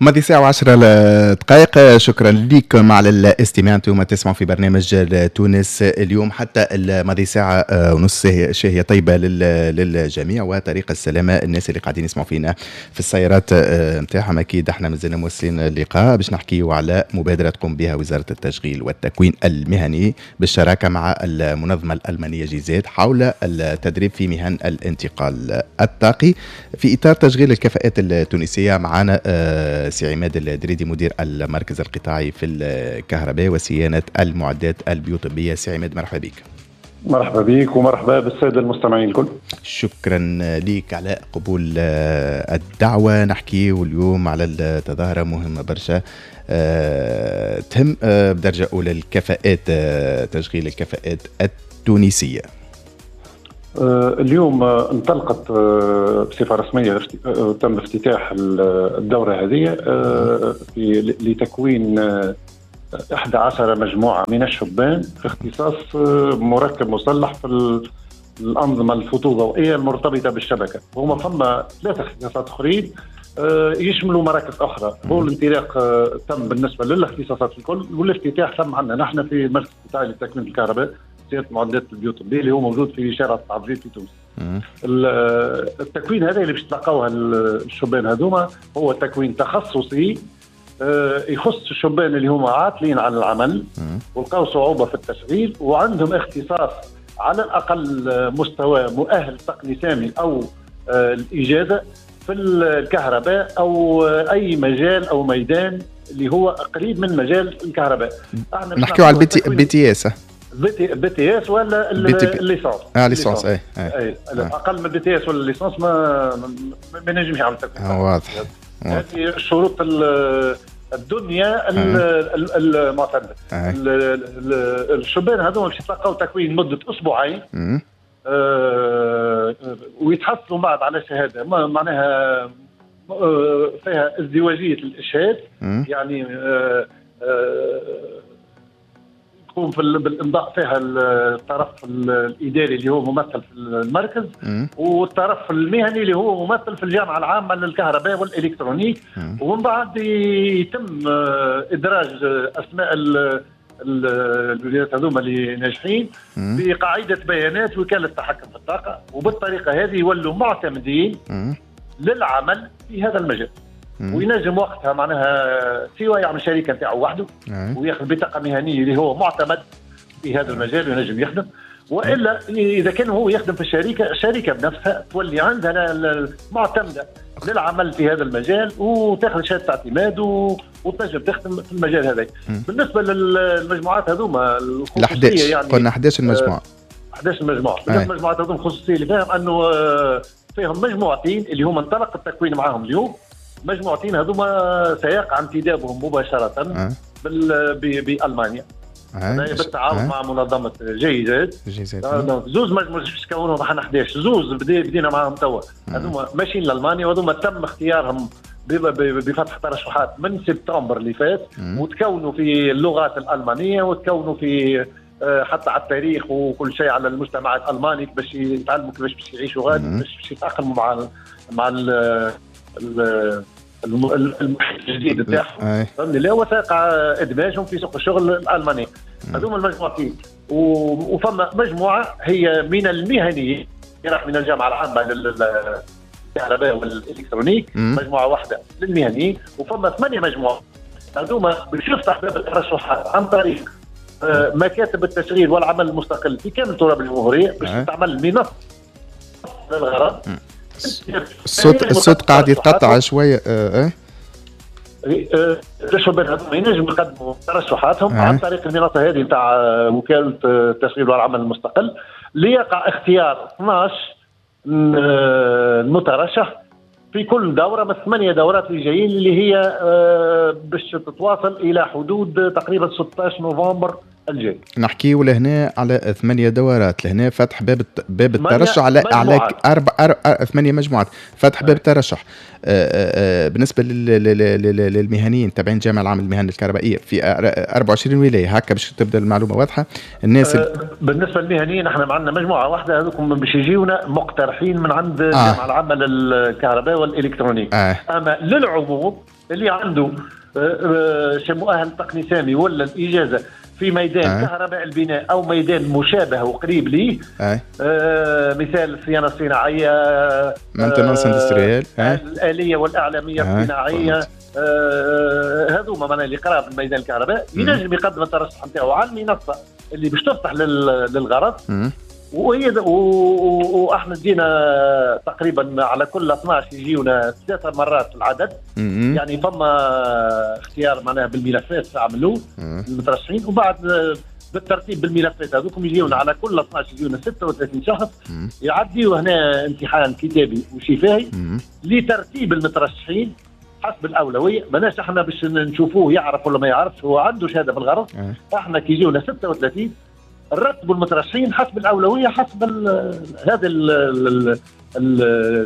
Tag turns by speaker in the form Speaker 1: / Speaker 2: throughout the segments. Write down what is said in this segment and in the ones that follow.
Speaker 1: ماضي ساعة و10 دقائق. شكرا لكم على الاستماع، انتم تسمعوا في برنامج تونس اليوم حتى الماضي ساعة ونص. شهية طيبة للجميع وطريق السلامة. الناس اللي قاعدين يسمعوا فينا في السيارات نتاعهم، اكيد احنا مازلنا مواصلين اللقاء باش نحكيو على مبادرة تقوم بها وزارة التشغيل والتكوين المهني بالشراكة مع المنظمة الألمانية GIZ حول التدريب في مهن الانتقال الطاقي في إطار تشغيل الكفاءات التونسية. معنا سي عماد الدريدي، مدير المركز القطاعي في الكهرباء وصيانة المعدات البيوطبية. سي عماد، مرحبا بك.
Speaker 2: مرحبا بك ومرحبا بالسادة المستمعين الكل.
Speaker 1: شكرا لك على قبول الدعوة. نحكي اليوم على التظاهرة مهمة برشا تهم بدرجة أولى الكفاءات، تشغيل الكفاءات التونسية.
Speaker 2: اليوم انطلقت بصفة رسمية، تم افتتاح الدورة هذه لتكوين 11 مجموعة من الشبان في اختصاص مركب مصلح في الأنظمة الفوتوضوئية المرتبطة بالشبكة. هما فما ثلاثة اختصاصات أخرين يشملوا مراكز أخرى. هو الانطلاق تم بالنسبة للاختصاصات الكل، والافتتاح تم عندنا نحن في المركز القطاعي لتكوين الكهرباء صيانة معدات البيوطبية اللي هو موجود في شارع التعبير في تونس. التكوين هذا اللي باش تلقاوه الشبان هذوما هو تكوين تخصصي يخص الشبان اللي هما عاطلين عن العمل ولقاو صعوبة في التشغيل وعندهم اختصاص على الأقل مستوى مؤهل تقني سامي أو الإجازة في الكهرباء أو أي مجال أو ميدان اللي هو قريب من مجال الكهرباء.
Speaker 1: نحكيو على ال BTS.
Speaker 2: BTS ولا ال licence.
Speaker 1: اه licence، اي.
Speaker 2: اي، اقل من BTS ولا licence ما نجمش يعمل تكوين.
Speaker 1: واضح.
Speaker 2: هذه الشروط الدنيا المعتمده. الشبان هذوما باش يتلقاو تكوين مده اسبوعين ويتحصلوا بعد على شهادة معناها فيها ازدواجية الاشهاد، يعني يكون في بالامضاء فيها الطرف الاداري اللي هو ممثل في المركز والطرف المهني اللي هو ممثل في الجامعة العامة للكهرباء وال électronique. ومن بعد يتم ادراج اسماء الولايات هذوما اللي ناجحين في قاعدة بيانات وكالة التحكم في الطاقه، وبالطريقه هذه يولوا معتمدين للعمل في هذا المجال. وينجم وقتها معناها سواء يعمل شركة نتاعو وحده وياخذ بطاقة مهنية اللي هو معتمد في هذا المجال وينجم يخدم، والا اذا كان هو يخدم في الشركه، الشركة بنفسها تولي عندها معتمدة للعمل في هذا المجال وتاخذ شهادة اعتماد وتنجم تخدم في المجال هذا. بالنسبة للمجموعات هذوما
Speaker 1: الخصوصيه، يعني قلنا 11 مجموعه.
Speaker 2: 11 مجموعه. بالنسبة للمجموعات هذوما، الخصوصية اللي فيهم انه فيهم مجموعتين اللي هما انطلق التكوين معاهم اليوم. مجموعتين هذوما سيقع انتدابهم مباشرة بالمانيا بالتعاون مع منظمة GIZ. زوز مجموعة باش تكونوا احنا 11، زوز بدينا معاهم توا، هذوما ماشيين لالمانيا، وهذوما تم اختيارهم بفتح ترشحات من سبتمبر اللي فات، وتكونوا في اللغات الالمانية وتكونوا في حتى على التاريخ وكل شيء على المجتمع الالماني باش يتعلموا كيفاش باش يعيشوا غادي، باش يتاقلموا مع المحيط الجديد بتاعهم، فهمني؟ لا، وسيقع ادماجهم في سوق الشغل الالماني. هذوما المجموعتين، وفما مجموعة هي من المهنيين من الجامعة العامة للكهرباء وال électronique، مجموعة واحدة للمهنيين. وفما ثمانية مجموعات هذوما باش يفتح باب الترشحات عن طريق مكاتب التشغيل والعمل المستقل في كامل تراب الجمهوريه، باش تعمل منصة للغرض.
Speaker 1: الصوت قاعد يتقطع شويه. اه
Speaker 2: الشبان هذوما ينجموا يقدموا ترشحاتهم عن طريق المنصة هذه نتاع وكالة التشغيل والعمل المستقل، ليقع اختيار 12 مترشح في كل دوره من ثمانية دورات اللي جايين، اللي هي باش تتواصل الى حدود تقريبا 16 نوفمبر. الجاي.
Speaker 1: نحكيو لهنا على 8 دورات، لهنا فتح باب الترشح على 8 مجموعات، فتح باب الترشح. بالنسبة للمهنيين تابعين الجامعة العامة للمهن الكهربائية في 24 ولاية، هكا باش تبدا المعلومة واضحة. الناس
Speaker 2: بالنسبة للمهنيين احنا عندنا مجموعة واحدة، هذوكم باش يجيونا مقترحين من عند الجامعة العامة للكهرباء والالكترونيك. اما للعموم اللي عنده مؤهل تقني سامي ولا الاجازة في ميدان كهرباء البناء او ميدان مشابه وقريب ليه، مثال الصيانة الصناعية،
Speaker 1: maintenance industrielle،
Speaker 2: الالية والاعلامية الصناعية، هذوما معناها اللي قراب من ميدان الكهرباء ينجم يقدم الترشح نتاعو على المنصة اللي باش تفتح للغرض. وهي واحنا جينا تقريبا على كل 12 يجيونا 3 مرات العدد. يعني فما اختيار معناها بالملفات عملوه المترشحين، وبعد بالترتيب بالملفات هذوكم يجيونا على كل 12 يجيونا 36 شخص يعديوا هنا امتحان كتابي وشفاهي لترتيب المترشحين حسب الاولوية. ماناش احنا باش نشوفوه يعرف ولا ما يعرفش، هو عنده شهادة في الغرض. احنا كي يجيونا 36 نرتبوا المترشحين حسب الاولوية، حسب هذا ال ال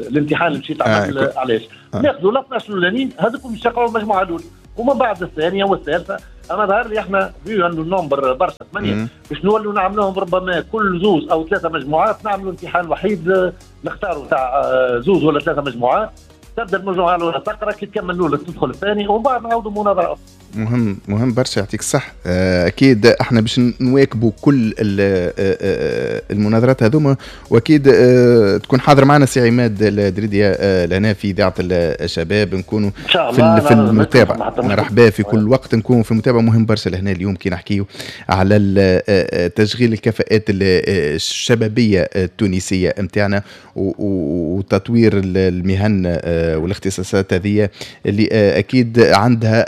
Speaker 2: الامتحان اللي مشيت عمل. علاش ناخذوا ال 12 الاولانيين هذوكم يشقعوا المجموعة الاولى، ومن بعد الثانية والثالثة. انا ظهر لي احنا vu انه ال nombre برشا 8 باش نولوا نعملوهم ربما كل زوز او 3 مجموعات نعملوا امتحان وحيد، نختاروا تاع زوز ولا 3 مجموعات، تبدا المجموعة الاولى تقرا، كي تكمل الاولى تدخل الثاني، ومن بعد نعاودوا مناظرة اخرى.
Speaker 1: مهم برشا، يعطيك الصح. اكيد احنا باش نواكبوا كل المناظرات هذوما، واكيد تكون حاضر معنا سي عماد الدريدي لنا في اذاعة الشباب، نكونوا في المتابعة. مرحبا في كل وقت نكونوا في المتابعة. مهم برشا لهنا اليوم كي نحكيو على تشغيل الكفاءات الشبابية التونسية نتاعنا وتطوير المهن والاختصاصات هذه اللي اكيد عندها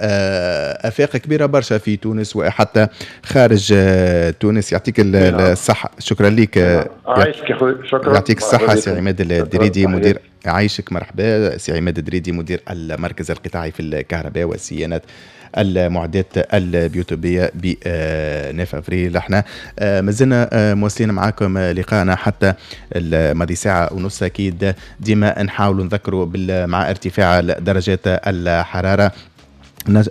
Speaker 1: افاق كبيرة برشا في تونس وحتى خارج تونس. يعطيك الصحة، شكرا لك.
Speaker 2: عايشك يا خويا، شكرا.
Speaker 1: يعطيك الصحة سي عماد الدريدي مدير، عايشك مرحبا سي عماد الدريدي مدير المركز القطاعي في الكهرباء وصيانة المعدات البيوتوبيه ب 9 افريل. احنا مازلنا مواصلين معاكم لقاءنا حتى الماضي ساعة ونص. اكيد ديما نحاولوا نذكروا مع ارتفاع درجات الحرارة،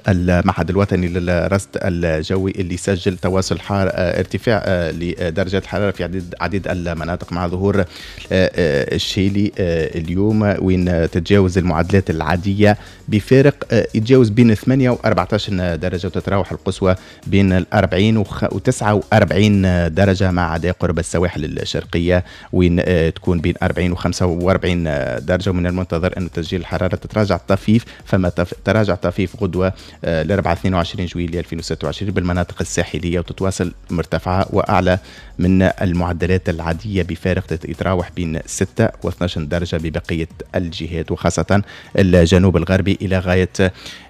Speaker 1: المعهد الوطني للرصد الجوي اللي سجل تواصل ارتفاع لدرجات الحرارة في عديد المناطق مع ظهور الشيلي اليوم، وين تتجاوز المعدلات العادية بفارق يتجاوز بين 8 و 14 درجة، وتتراوح القصوى بين 40 و 49 درجة، مع عدا قرب السواحل الشرقية وين تكون بين 40 و 45 درجة. ومن المنتظر أن تسجيل الحرارة تتراجع طفيف، فما تراجع طفيف غدوة الأربعاء 22 جويلية 2026 بالمناطق الساحلية، وتتواصل مرتفعة وأعلى من المعدلات العادية بفارق يتراوح بين 6 و 12 درجة ببقية الجهات، وخاصة الجنوب الغربي إلى غاية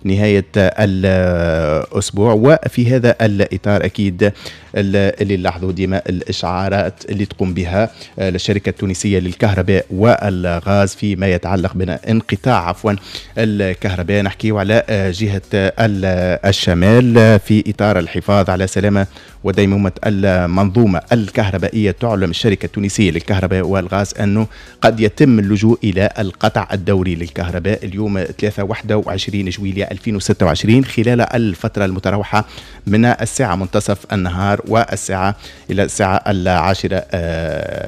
Speaker 1: نهاية الأسبوع. وفي هذا الإطار أكيد اللي نلاحظوا ديما الإشعارات اللي تقوم بها الشركة التونسية للكهرباء والغاز فيما يتعلق بانقطاع الكهرباء. نحكيو على جهة الشمال في إطار الحفاظ على سلامة وديمومة المنظومة الكهربائية. تعلم الشركة التونسية للكهرباء والغاز أنه قد يتم اللجوء إلى القطع الدوري للكهرباء اليوم 23 جويلية 2026 خلال الفترة المتراوحة من الساعة منتصف النهار والساعة إلى الساعة 10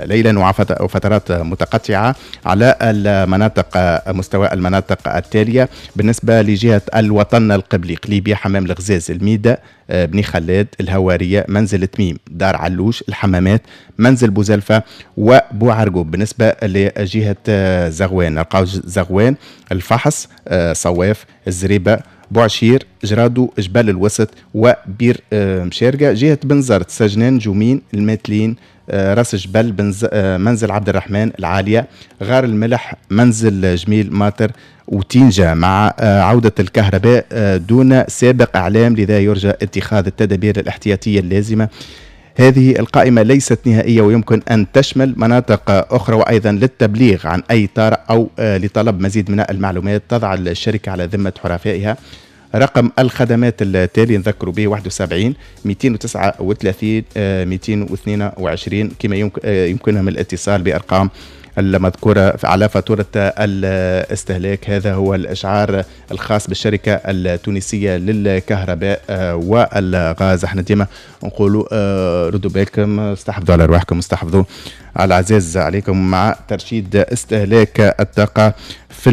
Speaker 1: ليلا، وفترات متقطعة على المناطق مستوى المناطق التالية. بالنسبة لجهة الوطن القبلي، قليبية، حمام الغزاز، الميدة، بني خلاد، الهوارية، منزل تميم، دار علوش، الحمامات، منزل بوزلفة وبوعرقوب. بالنسبة لجهة زغوان، نلقاو زغوان، الفحص، صواف، الزريبة، بوعشير، جرادو، جبل الوسط وبير مشارقة. جهة بنزرت، سجنان، جومين، الماتلين، راس جبل، منزل عبد الرحمن، العالية، غار الملح، منزل جميل ماطر وتينجا. مع عودة الكهرباء دون سابق إعلام، لذا يرجى اتخاذ التدابير الاحتياطية اللازمة. هذه القائمة ليست نهائية ويمكن أن تشمل مناطق أخرى، وأيضا للتبليغ عن أي طارئ أو لطلب مزيد من المعلومات تضع الشركة على ذمة حرفائها رقم الخدمات التالي نذكروا به 71 239 222، كما يمكنهم الاتصال بأرقام المذكورة على فاتورة الاستهلاك. هذا هو الإشعار الخاص بالشركة التونسية للكهرباء والغاز. احنا ديما نقولوا ردوا بالكم، استحفظوا على أرواحكم، استحفظوا على العزاز عليكم مع ترشيد استهلاك الطاقة في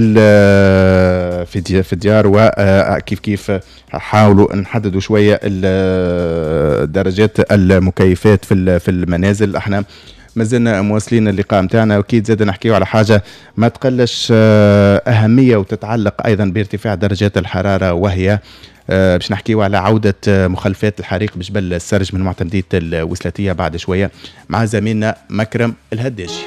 Speaker 1: الديار، وكيف كيف حاولوا نحددوا شوية درجات المكيفات في المنازل. احنا مازلنا مواصلين اللقاء متاعنا، واكيد زاد نحكيو على حاجة ما تقلش اهمية وتتعلق ايضا بارتفاع درجات الحرارة، وهي باش نحكيو على عوده مخلفات الحريق بجبل السرج من معتمديه الوسلاتيه بعد شوية مع زميلنا مكرم الهداشي.